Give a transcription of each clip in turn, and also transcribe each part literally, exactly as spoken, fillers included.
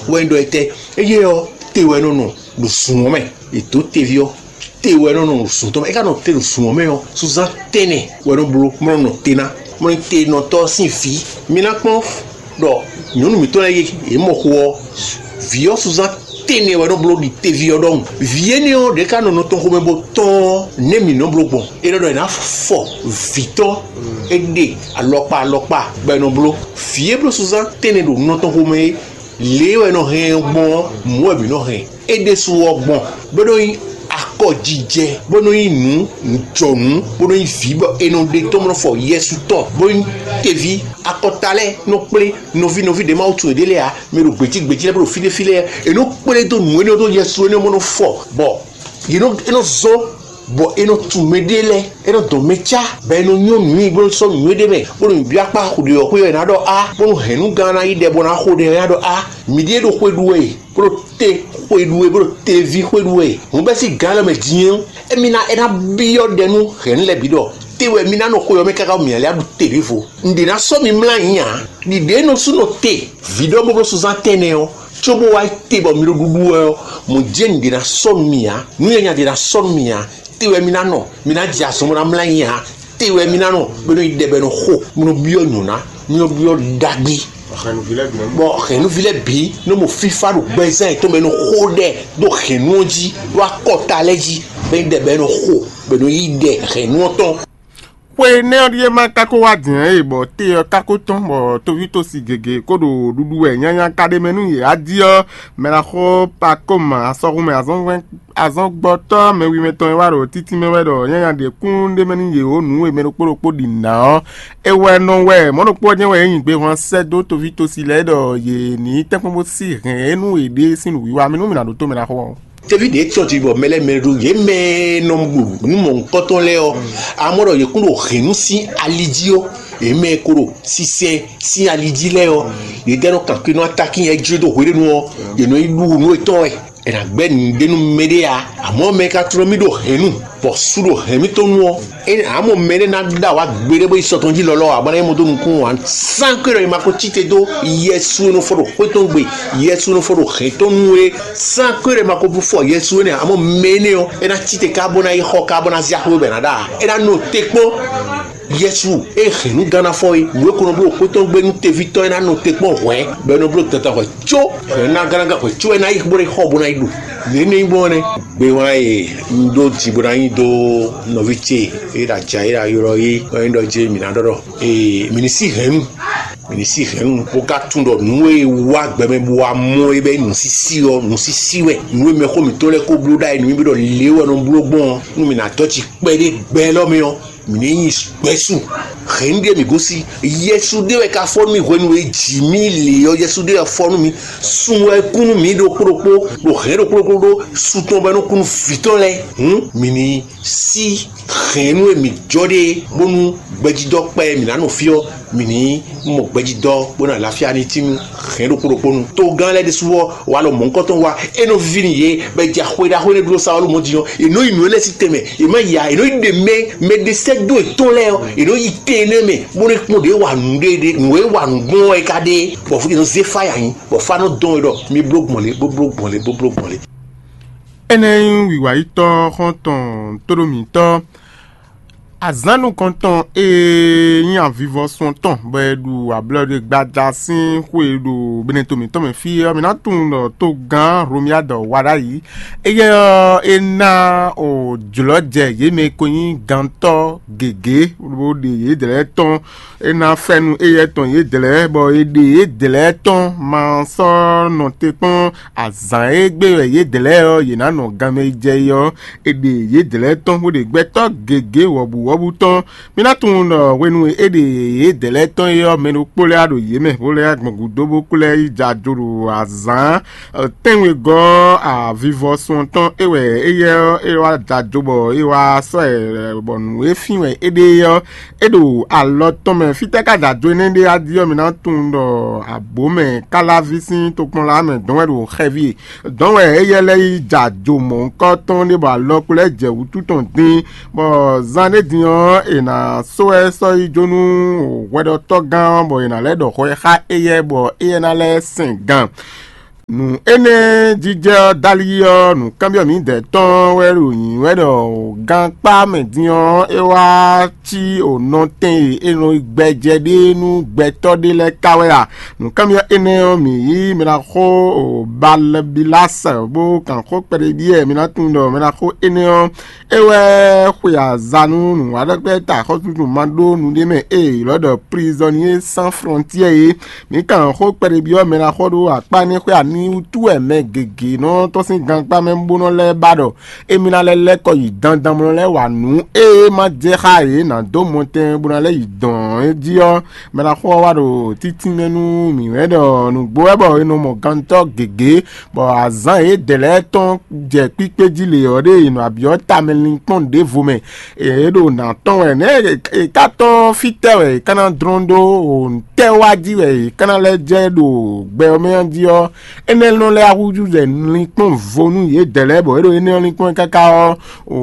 Wɛ un ɖɔ etɛ? Eye ɔ́, te wɛ nɔ nɔ ɖo zun ɔ́ mɛ. È dǒ teví ɔ́, te wɛ nɔ nɔ ɖo zun tɔn mɛ. É ka nɔ te ɖo zun ɔ́ mɛ ɔ́, sunzán tɛnɛ wɛ nɔ bló, mɔ nɔ nɔ te ná. Mɔ ní te nɔ tɔ́ sín vǐ. Mi ná kpɔ́n ɖɔ nyɔ̌nu mǐtɔn lɛ́ɛ e yě mɔ xo ɔ́, vǐ ɔ́ sunzán tɛnɛ wɛ nɔ bló ɖi teví ɔ́ ɖɔhun. Vǐ énɛ́ ɔ́ ɖě ka nɔ nɔ tɔn xomɛ bó tɔ́n ɔ́, nɛ̌ mǐ nɔ bló gbɔn? É nɔ ɖɔ è nǎ fɔ vǐ tɔn é ɖe alɔkpa alɔkpa bɔ è nɔ bló. Vǐ e bló sunzán tɛnɛ ɖo nɔ tɔn xomɛ é, lě e wɛ è nɔ hɛn ɔ́ gbɔn ɔ́, mɔ̌ wɛ mǐ nɔ hɛn. É ɖésú ɔ́ gbɔn, bó nɔ nyí akɔjijɛ, bó nɔ nyí nǔ jɔnǔ, bó nɔ nyí vǐ bɔ è nɔ ɖe tɔ́n bó nɔ fɔ Yɛsu tɔn, bó nyí teví akɔta lɛ́ɛ nɔ kplé nɔví nɔví ɖě Mawu tunwun yěɖée lɛ́ɛ ǎ, mɛ ɖo gběcí gběcí lɛ́ɛ bó ɖo fí ɖé fí lɛ́ɛ, è nɔ kplé dó nǔ énɛ́ dó Yɛsu énɛ́ bó nɔ fɔ, bɔ yě nɔ é nɔ zɔ́n bɔ è nɔ tunwun mɛɖée lɛ́ɛ, é nɔ dɔn mɛ cá, bɔ è nɔ nyɔ́ nǔ nyi bó nɔ sɔ́ nǔ e ɖ'é mɛ, bó nɔ nyi byɔ́ akpá ɖě ɔ́ xwé ɔ́, è nǎ ɖɔ á, bó nɔ hɛn nǔ gán ná yí ɖɛ bó ná xo ɖɛ ɔ́, é ná ɖɔ á, mǐ ɖíe ɖo xwe ɖu wɛ e, bó ɖo te xwe ɖu wɛ, bó ɖo teví xwe ɖu wɛ e. Hǔn bɛ́ sín gǎn lɔ mɛ din ɔ́, émí ná é ná byɔ́ ɖɛ nú hɛ̌nnu lɛ́ɛ bǐ ɖɔ: Te wɛ mi ná nɔ xwe ɔ́ mɛ káká mǐ ǎ lɛ́ ɖu te ɖěvo. Un ɖě ná sɔ́ mi mlá ayǐ ǎ. Ɖiɖě nɔ sú nɔ te vǐ ɖɔ bó bló sunzán tɛnɛ ɔ́, cóbó wá yi te bɔ mi ɖo ɖuɖu wɛ ɔ́, mɔ̌ jɛ́n nǔɖé ná sɔ́ nú mì ǎ, nǔ nyanya ɖé ná sɔ́ nú mì ǎ. Te wɛ mi ná nɔ, mi ná jɛ azɔn bó ná mlá nyi ǎ. Te wɛ mi ná nɔ, bó nɔ yi ɖɛ bɔ è nɔ xo, bó nɔ byɔ́ nyɔ̌ná, bó nɔ byɔ́ ɖagbe. Bɔ hɛ̌nnuví lɛ́ɛ bǐ nɔ mɔ fífá ɖo gbɛzán yětɔn mɛ, nɔ xo ɖɛ ɖo hɛ̌nnu ɔ́ jí, ɖo akɔta lɛ́ɛ jí, bɔ é nyí ɖɛ bɔ è nɔ xo, bɔ è nɔ yí ɖɛ hɛ̌nnu ɔ́ tɔn. Xwe énɛ́ ɔ́ ɖíe ma ka ko wá din ǎ e, bɔ té ɔ́ ka ko tɔ́n, bɔ tovítɔ́si gěgé ko ɖo ɖuɖu wɛ nyanya ka ɖ'é mɛ nú yě. Adi ɔ́, mɛ ná xo Pakoma asɔxumɛ azɔngbɔtɔ́ mɛwi mɛtɔn e wá ɖo títí mɛ wɛ ɖɔ nyanya ɖě kún ɖ'é mɛ nú yě ó, nǔ e mɛ ɖokpó ɖokpó ɖi nǎ ɔ́, é wɛ nɔ wɛ mɔ̌ ɖokpó ɔ́ jɛ́n wɛ é nyi gbehwan sɛ́ dó tovítɔ́si lɛ́ɛ ɖɔ yě ní tɛ́nkpɔ́n bó sí hɛn é nú yěɖée sín nǔwiwa mɛ nú mǐ ná ɖótó mɛ ná xo ɔ́. Teví ɖě tɔ́n jí bɔ mɛ lɛ́ɛ mɛ ɖo yě mɛ nɔ ɖu nǔ mɔ̌hunkɔtɔn lɛ́ɛ ɔ́, amɔ̌ ɖɔ yě kún ɖo hɛ̌nnu sín ali jí ó, yě mɛ e ko ɖo sinsɛn sín ali jí lɛ́ɛ ɔ́, yě dɛ́ nɔ kankli nú atakín yɛ jló dó hweɖénu ɔ́, yě nɔ yi ɖu nǔ yětɔn wɛ. È nǎ gbɛ́ nǔɖé nú mɛɖé ǎ, amɔ̌ mɛ e ka tló mì ɖo hɛ̌nnu, bɔ sú ɖo hɛ̌n mitɔn nu ɔ́, é ǎ mɔ mɛɖé ná ɖo awǎ gbeɖé bó yi sɔ tɔn jí lɔlɔ́ ǎ, bɔ ná nyí mɔ dó nukún ǎ. Sán kwé ɖɔ è ma ko cí te dó Yɛsu e nɔ fɔ ɖo xwé tɔn gbe, Yɛsu e nɔ fɔ ɖo hɛ̌n tɔn nu é. Sán kwé ɖɔ è ma ko fɔ Yɛsu énɛ́ ǎ, amɔ̌ mɛ énɛ́ ɔ́, é ná cí te ká bó ná yi xɔ ká bó ná zé axwé bɔ è nǎ ɖa ǎ. É ná nɔ te kpɔ́n. Yesu e hɛn nú gánnáfɔ é, nǔ e ko nɔ bló xwé tɔn gbe nú teví tɔn é ná nɔ te kpɔ́n hwɛ̌, bɔ é nɔ bló dandan hwɛ̌ có hwɛ̌ ná gánnágán hwɛ̌ có é ná yi bó ɖo xɔ bó ná yi ɖu. Nǔ énɛ́ nyí gbɔn nɛ́. Gbéwán e un ɖó ji bó ná nyi dó nɔví ce e ɖo aja e ɖo ayɔ é, wɛ nyí ɖɔ jí mǐ ná ɖɔ ɖɔ ee mǐ ní sí hɛ̌nnu, mǐ ní sí hɛ̌nnu bó ka tunwun ɖɔ nǔ e wá gbɛmɛ bó wá mɔ é bɛ́ nǔsísí ɔ́, nǔsísí wɛ. Nǔ e mɛxó mǐtɔn lɛ́ɛ ko bló ɖ'ayǐ nú mì ɖɔ lě wɛ nɔ bló gbɔn ɔ́, nú mǐ ná dɔ́ ci kpɛɖé gbɛ élɔ́ mɛ ɔ́, mǐ ní nyi gbɛ̌ su. Hɛ̌nnu ɖíe mǐ gosín. Yɛsu ɖé wɛ ka fɔ nú mì hwenu e jǐ mì lě ɔ́, Yɛsu ɖé wɛ fɔ nú mì. Sun wɛ kú nú mǐ ɖokpó ɖokpó, ɖo hɛ̌n ɖokpó ɖokpó ɖó su tɔn bɔ é nɔ kú nú vǐ tɔn lɛ́ɛ. Hǔn mǐ ní sí hɛ̌nnu e mǐ jɔ ɖe bónú gbɛjidɔ́ kpɛ e mǐ ná nɔ fí ɔ́, mǐ ní mɔ gbɛjidɔ́ bó ná lafíá ní tín nú hɛ̌n ɖokpó ɖokpó nu. Togán lɛ́ɛ ɖésú ɔ́, walɔ mɔ̌hunkɔtɔn wá, é nɔ víví nú yě, bɔ è jɛ xwe ɖaxó énɛ́ ɖó Sawulu mɔ din ɔ́, è nɔ yi nǔ énɛ́ sí tɛnmɛ, è má yi ǎ, è nɔ yi ɖe mɛ mɛɖesɛ́dó yětɔn lɛ́ɛ ɔ́, è nɔ yi tɛn énɛ́ mɛ, bó nɔ́ kpɔ́n ɖě wa nǔɖé ɖé, nǔ e wa nǔ gbɔn ɔ́ é ka ɖe, bɔ fúnjɛ nɔ zé fáya nyi, bɔ fá nɔ dɔn we ɖɔ mi bló gbɔn lě, bó bló gbɔn lě, bó bló gbɔn lě. Énɛ́ nyí wǐwǎyítɔ́ xɔ́ntɔn tóɖó mǐtɔn. Azǎn nukɔntɔn e nyí avivɔsun tɔn bɔ è ɖu ablɔɖe gbada sín xwe ɖo Benɛto mǐtɔn mɛ fí ɔ́, mǐ ná tunwun ɖɔ togán Hlomyád wa ɖ'ayǐ. Éyɛ́ ɔ́, é ná jlɔ̌ jɛ yě mɛ e ko nyí gantɔ́ gěgé bó ɖe yědɛɛ lɛ́ɛ tɔn. É ná fɛ́nú éyɛ́ tɔn yědɛɛ lɛ́ɛ, bɔ è ɖe yědɛɛ lɛ́ɛ tɔn ma sɔ́ nɔ te kpɔ́n azǎn e gbe wɛ yědɛɛ lɛ́ɛ ɔ́, yě ná nɔ ganmɛ yi jɛ é ɔ́, è ɖe yědɛɛ lɛ́ɛ tɔn bó ɖe gbɛtɔ́ gěgé wɔ̌buwɔ́bú tɔn. Mi ná tunwun ɖɔ hwenu e é ɖe yědɛɛ lɛ́ɛ tɔn é ɔ́, mɛ ɖokpó lɛ́ɛ wá ɖo yě mɛ, bó lɛ́ gbɔn gǔdo bó kú lɛ́ yi jɛ ajo ɖo azǎn tɛ́nwegɔ́ avivɔsun tɔn é wɛ éyɛ́ ɔ́, é wá jɛ ajo bɔ é wá sɔ́ ɛ bɔ nǔ e fín wɛ é ɖe é ɔ́, é ɖo alɔ tɔn mɛ. Fítɛ́ ka jɛ ajo énɛ́ ɖe wá jí ɔ́, mi ná tunwun ɖɔ abǒ mɛ káláví sín tokpɔnla mɛ dɔn wɛ ɖo xɛví e dɔn wɛ éyɛ́ lɛ́ɛ yi jɛ ajo mɔ̌hunkɔtɔn ɖé bɔ alɔ kplɔ́ ɛ jɛ wǔtu tɔn dín, bɔ zan ɖé din ɔ́, è nǎ sɔ́ ɛ sɔ́ yi jó nú hwɛɖɔtɔ́gán ɔ́, bɔ è nǎ lɛ́ ɖɔ hwɛ xá éyɛ́, bɔ éyɛ́ ná lɛ́ sɛn gan. Nǔ énɛ́ jijɛ ɔ́ dali ɔ́, nǔkanbyɔ́ mǐdɛɛ tɔn wɛ ɖo nyǐ wɛ ɖɔ gankpá mɛ din ɔ́, é wá cí o nɔtɛn e è nɔ gbɛjɛ ɖe nú gbɛtɔ́ ɖé lɛ́ɛ ka wɛ a? Nǔkanbyɔ́ énɛ́ ɔ́, mǐ yí mɛ ná xo o Balɛbilásɛ bó kan xó kpɛɖé ɖíe mǐ ná tunwun ɖɔ mɛ ná xó énɛ́ ɔ́, é wɛ xwe aza nú nǔwanɖɔkpɛ́ ta xɔ́súɖuɖu ma ɖó nu ɖé mɛ e è ylɔ́ ɖɔ Prisonnier Sans Frontières é. Mǐ kan xó kpɛɖébyɔ́ mɛ ná xɔ ɖó akpá énɛ́ xwé ani wútu wɛ mɛ gěgé nɔ tɔ́n sín gankpá mɛ bó nɔ lɛ́ ba ɖɔ émí ná lɛ́ lɛ́ kɔ yi dandan bó nɔ lɛ́ wa nǔ e ma jɛ xá yě ná dó mɔtɛn bó ná lɛ́ yi dɔn é jí ɔ́, mɛ ná xɔ wá ɖo títínmɛ nú mǐ wɛ ɖɔ nǔgbó wɛ bɔ è nɔ mɔ gantɔ́ gěgé, bɔ azǎn yědɛɛ lɛ́ɛ tɔn jɛ kpíkpé jí lě ɔ́ ɖe è nɔ abyɔ́ tamɛ linkpɔ́n ɖěvo mɛ. È ɖo nǎ tɔn wɛ nɛ̌ è ka tɔ́n fítɛ́ wɛ è ka ná dlɔ́n ɖó tɛ́ wá jí wɛ è ka ná lɛ́ jɛ ɖo gbɛ ɔ́ mɛ ɔ́ jí ɔ́, énɛ́ nɔ lɛ́ húzú jɛ linkpɔ́n vo nú yědɛɛ lɛ́ɛ bɔ é ɖo énɛ́ ɔ́ linkpɔ́n káká ɔ́, o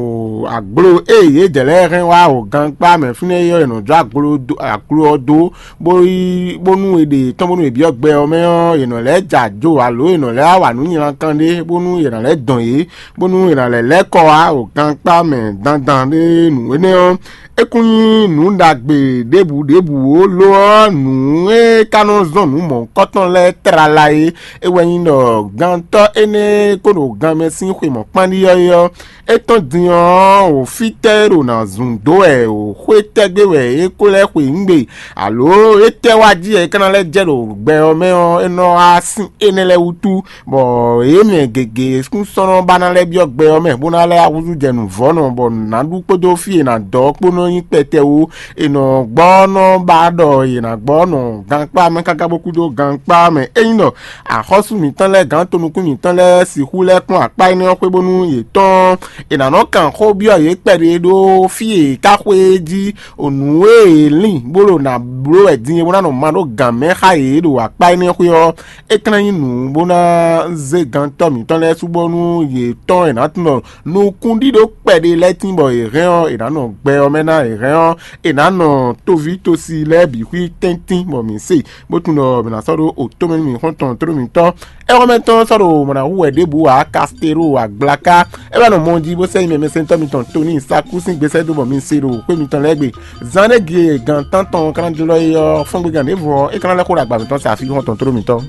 aglo e yědɛɛ lɛ́ɛ hɛn wá o gankpá mɛ fínɛ́ é ɔ́, è nɔ jó aglo dó- aglo ɔ́ dó, bó yi bónú è ɖe tɔn bónú è byɔ́ gbɛ ɔ́ mɛ ɔ́, è nɔ lɛ́ jɛ ajo alo è nɔ lɛ́ wa nǔ nylankan ɖé bónú è nǎ lɛ́ dɔn yě, bónú è nǎ lɛ́ lɛ́ kɔ wá o gankpá mɛ dandan ɖé nǔ énɛ́ ɔ́, é kún nyí nǔ ɖagbe ɖěbǔ ɖěbǔ ó. Lo ɔ́, nǔ e ka nɔ zɔ́n nǔ mɔ̌hunkɔtɔn lɛ́ɛ tlala é, é wɛ nyí ɖɔ gantɔ́ énɛ́ e ko ɖo ganmɛ sín xwe mɔ̌kpánɖí ɔ́ é ɔ́, é tɔ́n din ɔ́, wǒ fítɛ́ é ɖo ná zun dó wɛ, wǒ xwé tɛ́gbé wɛ é ko lɛ́ xwe nǔgbe, alo étɛ́ wá jí wɛ é ka ná lɛ́ jɛ ɖo gbɛ ɔ́ mɛ ɔ́, é nɔ wá sín énɛ́ lɛ́ɛ wútu, bɔ yě mɛ gěgé kún sɔ́ nɔ ba ná lɛ́ byɔ́ gbɛ ɔ́ mɛ, bó ná lɛ́ húzú jɛ nǔvɔ́nɔ, bɔ nǔ ná ɖu kpódó fí e è nǎ dɔ ɔ́ kpó nɔ nyí kpɛtɛ wú. È nɔ gbɔ nɔ ba ɖɔ è nǎ gbɔ nɔ gankpá mɛ káká bó kú dó gankpá mɛ. Ényí ɖɔ axɔ́sú mǐtɔn lɛ́ɛ gǎn tonukún mǐtɔn lɛ́ɛ sixú lɛ́ kplɔ́n akpá énɛ́ ɔ́ xwé bónú yě tɔ́n è nǎ nɔ kan xó byɔ́ yě kpɛɖé ɖó fí e è ká xwé é jí, o nǔ e è lin bó ɖo nǎ bló wɛ din é bó ná nɔ ma ɖó gǎn mɛ xá yě ɖo akpá énɛ́ xwé ɔ́, é ka ná nyí nǔ bó ná zé gantɔ́ mǐtɔn lɛ́ɛ sú bónú yě tɔ́n è nǎ tunwun ɖɔ nukúnɖíɖó kpɛɖé lɛ́ɛ tín bɔ è hɛn ɔ́, è nǎ nɔ gbɛ ɔ́ mɛ ná è hɛn ɔ́, è nǎ nɔ toví tosi lɛ́ɛ bǐ xwí tɛ́ntin bɔ mǐ se, bó tunwun ɖɔ mǐ ná sɔ́ ɖó otó mɛ nú mǐ xɔ́ntɔn tlóló mǐtɔn. Ɛ́ xɔ́mɛ tɔn sɔ́ ɖo mɔ̌ ná hu wɛ ɖěbǔ ǎ, Kastélo agblaka. É wɛ nɔ mɔ jí bó sɛ́ nyi mɛ mɛsɛntɔ́ mitɔn Toni Saku sín gbèsè dó bɔ mi se ɖo xwé mitɔn lɛ́ɛ gbe. Zán ɖé gie gan tántɔn ka ná jlɔ́ é ɔ́, fɔ́ngbégán ɖěvo ɔ́, é ka ná lɛ́ xó ɖo agba mǐtɔn sa fí xɔ́ntɔn tlóló mǐtɔn.